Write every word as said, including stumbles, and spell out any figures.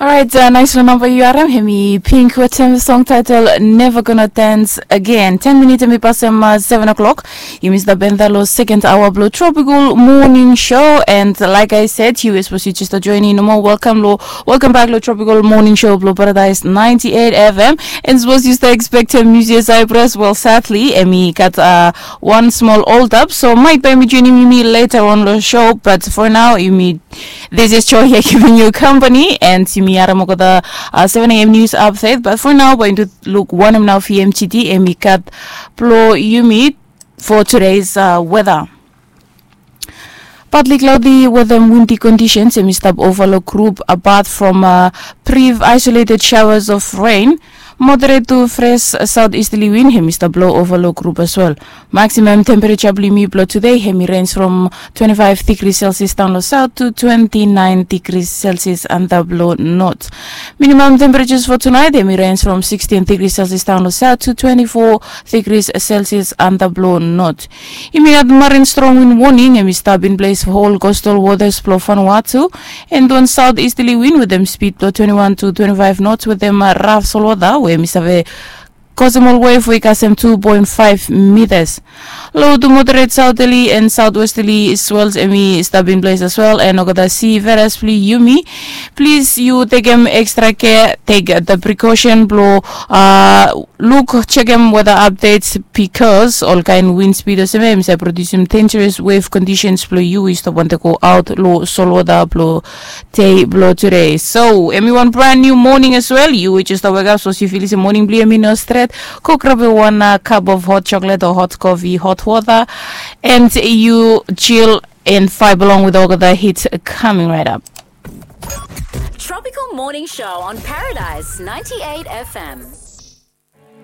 Orait, nais long namba yu harim, hemi Pink wetem song title Never Gonna Dance Again. Ten minit hemi pasem seven o'clock. Yumi stap enta long second hour blong Tropical Morning Show. And like I said, yu sapos yu just join in nomo, welcome long, welcome back long Tropical Morning Show blong Paradise ninety-eight F M. And sapos yu stap expectem Musia Cyprus, well, sadly, hemi gat uh, one small hold up. So maet bae hemi joinim yumi later on long show. But for now, yumi This is Joy here giving you company, and yumi harim olgeta uh, seven a.m. news update. But for now, bae yumi luk wanem nao V M G T hemi gat blong yumi for today's uh, weather. Partly cloudy weather and windy conditions hemi stap ova long group, apart from uh, brief isolated showers of rain. Moderate to fresh southeasterly wind hemi stap blo ova long group as well. Maximum temperature blong yumi blong today hemi range from twenty-five degrees Celsius down long south to twenty-nine degrees Celsius antap long north. Minimum temperatures for tonight hemi range from sixteen degrees Celsius down long south to twenty-four degrees Celsius antap long north. Yumi gat marine strong wind warning hemi stap in place for all coastal waters blong Vanuatu, and wan southeasterly wind wetem speed blong twenty-one to twenty-five knots wetem uh, rough solwota we hemi save kosem ol wave we i kasem two point five meters. Low to moderate southerly and southwesterly swells hemi stap in place as well, and olgeta seafarers blong yumi, please yu tekem extra care, take the precaution blong uh, luk, jekem weather updates, because olkaen wind speed olsem ia hemi save produsim dangerous wave conditions blong yu we yu stap wantem go aot long solwota blong dei blong today. So hemi wan brand new morning as well. Yu we just wake up, sapos yu filim se morning blong yu hemi no stret, go grab wan uh, cup of hot chocolate or hot coffee, hot water, and yu chill and vibe along with olgeta hits coming right up. Tropical Morning Show on Paradise ninety-eight F M.